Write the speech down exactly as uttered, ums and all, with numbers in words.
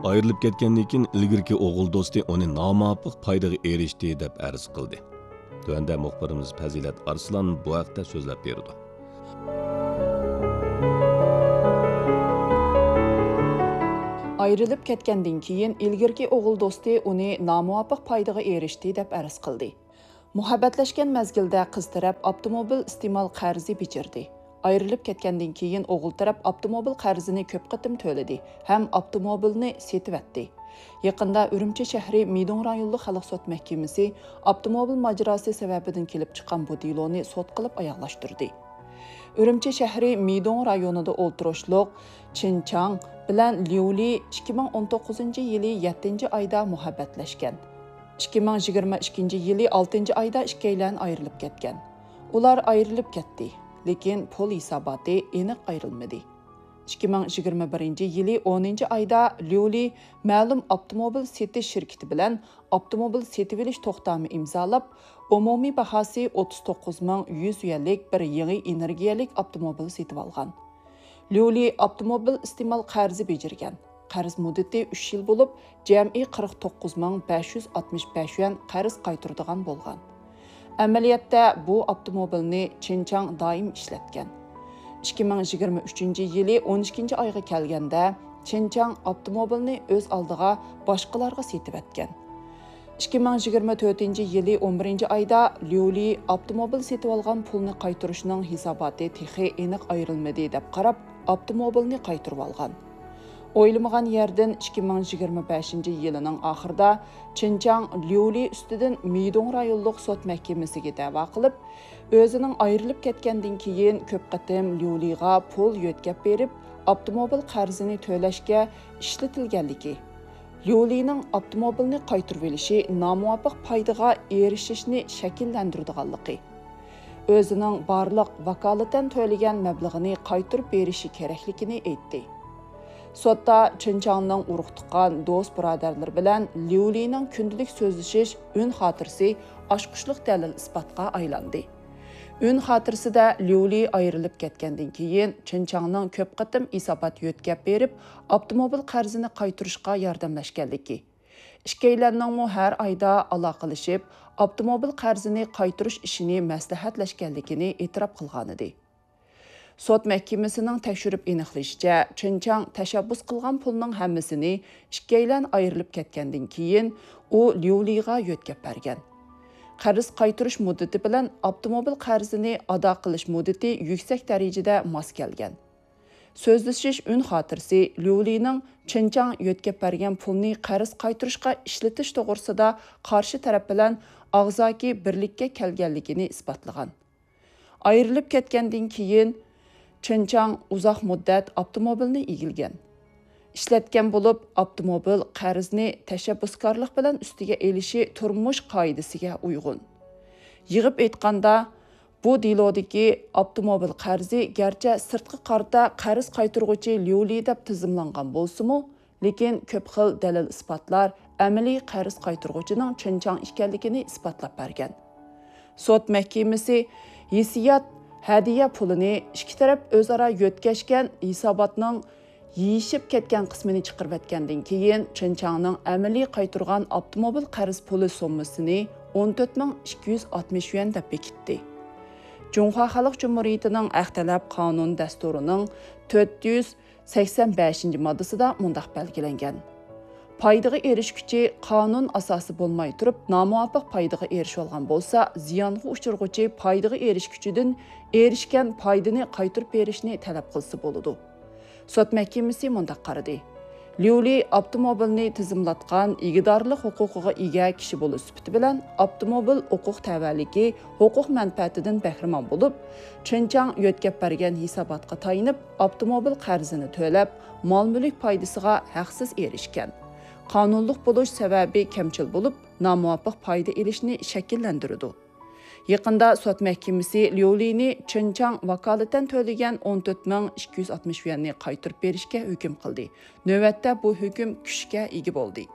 ئايرىلىپ كەتكەندىن كېيىن ئىلگىرىكى ئوغۇل دوستى ئۇنى نامۇۋاپىق پايدىغا ئېرىشتى دەپ ئەرز قىلدى. تۆۋەندە مۇخبىرىمىز پەزىلەت ئارسلان بۇ ھەقتە سۆزلەپ بېرىدۇ. ئايرىلىپ كەتكەندىن كېيىن ئىلگىرىكى ئوغۇل دوستى ئۇنى نامۇۋاپىق پايدىغا ئېرىشتى دەپ ئەرز قىلدى. مۇھەببەتلەشكەن مەزگىلدە قىز تەرەپ ئاپتوموبىل ئىستېمال قەرزى بېجىردى. ئايرىلىپ كەتكەندىن كېيىن ئوغۇل تەرەپ ئاپتوموبىل قەرزىنى كۆپ قېتىم تۆلىدى ھەم ئاپتوموبىلنى سېتىۋەتتى. يېقىندا ئۈرۈمچى شەھىرى مىدوڭ رايونلۇق خەلق سوت مەھكىمىسى ئاپتوموبىل ماجىراسى سەۋەبىدىن كېلىپ چىققان بۇ دېلونى سوت قىلىپ ئاياغلاشتۇردى. ئۈرۈمچى شەھىرى مىدوڭ رايونىدا ئولتۇرۇشلۇق چېن چاڭ بىلەن ليۇ لى ئىككى مىڭ ئون توققۇزىنچى يىلى يەتتىنچى ئايدا مۇھەببەتلەشكەن. ئىككى مىڭ يىگىرمە ئىككىنچى يىلى ئالتىنچى ئايدا ئىككىيلەن ئايرىلىپ كەتكەن. ئۇلار ئايرىلىپ كەتتى، لېكىن پۇل ھېساباتى ئېنىق ئايرىلمىدى. ئىككى مىڭ يىگىرمە بىرىنچى يىلى ئونىنچى ئايدا ليۇ لى مەلۇم ئاپتوموبىل سېتىش شىركىتى بىلەن ئاپتوموبىل سېتىۋېلىش توختامى ئىمزالاپ، ئومۇمىي باھاسى ئوتتۇز توققۇز مىڭ يۈز يۈەنلىك بىر يېڭى ئېنېرگىيەلىك ئاپتوموبىل سېتىۋالغان. ليۇ لى ئاپتوموبىل ئىستېمال قەرزى بېجىرگەن. قەرز مۇددىتى ئۈچ يىل بولۇپ، جەمئىي قىرىق توققۇز مىڭ بەش يۈز ئاتمىش بەش يۈەن قەرز قايتۇرىدىغان بولغان. ئەمەلىيەتتە بۇ ئاپتوموبىلنى چېن چاڭ دائىم ئىشلەتكەن. ئىككى مىڭ يىگىرمە ئۈچىنچى يىلى ئون ئىككىنچى ئايغا كەلگەندە، چېن چاڭ ئاپتوموبىلنى ئۆز ئالدىغا باشقىلارغا سېتىۋەتكەن. ئىككى مىڭ يىگىرمە تۆتىنچى يىلى ئون بىرىنچى ئايدا ليۇ لى ئاپتوموبىل سېتىۋالغان پۇلنى قايتۇرۇشنىڭ ھېساباتى تېخى ئېنىق ئايرىلمىدى دەپ قاراپ، ئاپتوموبىلنى قايتۇرۇۋالغان. ئويلىمىغان يەردىن ئىككى مىڭ يىگىرمە بەشىنچى يىلىنىڭ ئاخىرىدا چېن چاڭ ليۇ لى ئۈستىدىن مىدوڭ رايونلۇق سوت مەھكىمىسىگە دەۋا قىلىپ، ئۆزىنىڭ ئايرىلىپ كەتكەندىن كېيىن كۆپ قېتىم ليۇ لىغا پۇل يۆتكەپ بېرىپ، ئاپتوموبىل قەرزىنى تۆلەشكە ئىشلىتىلگەنلىكى، ليۇ لىنىڭ ئاپتوموبىلنى قايتۇرۇۋېلىشى نامۇۋاپىق پايدىغا ئېرىشىشنى شەكىللەندۈرىدىغانلىقى، ئۆزىنىڭ بارلىق ۋاكالىتەن تۆلىگەن مەبلىغىنى قايتۇرۇپ بېرىشى كېرەكلىكىنى ئېيتتى. سوتتا چېن چاڭنىڭ ئۇرۇق-تۇغقان، دوست-بۇرادەرلىرى بىلەن ليۇ لىنىڭ كۈندىلىك سۆزلىشىش ئۈن خاتىرىسى ئاچقۇچلۇق دەلىل-ئىسپاتقا ئايلاندى. ئۈن خاتىرىسىدە ليۇ لى ئايرىلىپ كەتكەندىن كېيىن، چېن چاڭنىڭ كۆپ قېتىم ھېسابات يۆتكەپ بېرىپ، ئاپتوموبىل قەرزىنى قايتۇرۇشقا ياردەملەشكەنلىكى، ئىككىيلەننىڭمۇ ھەر ئايدا ئالاقىلىشىپ، ئاپتوموبىل قەرزىنى قايتۇرۇش ئىشىنى مەسلىھەتلەشكەنلىكىنى ئېتىراپ قىلغانىدى. سوت مەھكىمىسىنىڭ تەكشۈرۈپ ئېنىقلىشىچە، چېن چاڭ تەشەببۇس قىلغان پۇلنىڭ ھەممىسىنى ئىككىيلەن ئايرىلىپ كەتكەندىن كېيىن، ئۇ ليۇ لىغا يۆتكەپ بەرگەن. قەرز قايتۇرۇش مۇددىتى بىلەن ئاپتوموبىل قەرزىنى ئادا قىلىش مۇددىتى يۈكسەك دەرىجىدە ماس كەلگەن. سۆزلىشىش ئۈن خاتىرىسى ليۇ لىنىڭ چېن چاڭ يۆتكەپ بەرگەن پۇلنى قەرز قايتۇرۇشقا ئىشلىتىش توغرىسىدا قارشى تەرەپ بىلەن ئاغزاكى بىرلىككە كەلگەنلىكىنى ئىسپاتلىغان. ئايرىلىپ كەتكەندىن كېيىن، چېن چاڭ ئۇزاق مۇددەت ئاپتوموبىلنى ئىگىلىگەن. ئىشلەتكەن بولۇپ، ئاپتوموبىل قەرزنى تەشەببۇسكارلىق بىلەن ئۈستىگە ئېلىشى تۇرمۇش قائىدىسىگە ئۇيغۇن. يىغىپ ئېيتقاندا، بۇ دېلودىكى ئاپتوموبىل قەرزى گەرچە سىرتقا قارىتا قەرز قايتۇرغۇچى ليۇ لى دەپ تىزىملانغان بولسىمۇ، لېكىن كۆپ خىل دەلىل-ئىسپاتلار ئەمەلىي قەرز قايتۇرغۇچىنىڭ چېن چاڭ ئىكەنلىكىنى ئىسپاتلاپ بەرگەن. سوت مەھكىمىسى ھېسسىيات ھەدىيە پۇلىنى ئىككى تەرەپ ئۆزئارا يۆتكەشكەن ھېساباتنىڭ يېيىشىپ كەتكەن قىسمىنى چىقىرىۋەتكەندىن كېيىن، چېن چاڭنىڭ ئەمەلىي قايتۇرغان ئاپتوموبىل قەرز پۇلى سوممىسىنى ئون تۆت مىڭ ئىككى يۈز ئاتمىش يۈەن دەپ بېكىتتى. جۇڭخۇا خەلق جۇمھۇرىيىتىنىڭ ھەق تەلەپ قانۇن دەستۇرىنىڭ تۆت يۈز سەكسەن بەشىنچى ماددىسىدا مۇنداق بەلگىلەنگەن: پايدىغا ئېرىشكۈچى قانۇن ئاساسى بولماي تۇرۇپ نامۇۋاپىق پايدىغا ئېرىشىۋالغان بولسا، زىيانغا ئۇچرىغۇچى پايدىغا ئېرىشكۈچىدىن ئېرىشكەن پايدىنى قايتۇرۇپ بېرىشنى تەلەپ قىلسا بولىدۇ. سوت مەھكىمىسى مۇنداق قارىدى: ليۇ لى ئاپتوموبىلنى تىزىملاتقان ئىگىدارلىق ھوقۇقىغا ئىگە كىشى بولۇش سۈپىتى بىلەن، ئاپتوموبىل ھوقۇق تەۋەلىكى ھوقۇق مەنپەئەتىدىن بەھرىمەن بولۇپ، چېن چاڭ يۆتكەپ بەرگەن ھېساباتقا تايىنىپ، ئاپتوموبىل قەرزىنى تۆلەپ، مال-مۈلۈك پايدىسىغا ھەقسىز ئېرىشكەن. قانۇنلۇق بولۇش سەۋەبى كەمچىل بولۇپ، نامۇۋاپىق پايدا ئېلىشنى شەكىللەندۈرىدۇ. يېقىندا سوت مەھكىمىسى ليۇ لىنى چېن چاڭ ۋاكالىتەن تۆلىگەن ئون تۆت مىڭ ئىككى يۈز ئاتمىش يۈەننى قايتۇرۇپ بېرىشكە ھۆكۈم قىلدى. نۆۋەتتە بۇ ھۆكۈم كۈچكە ئىگە بولدى.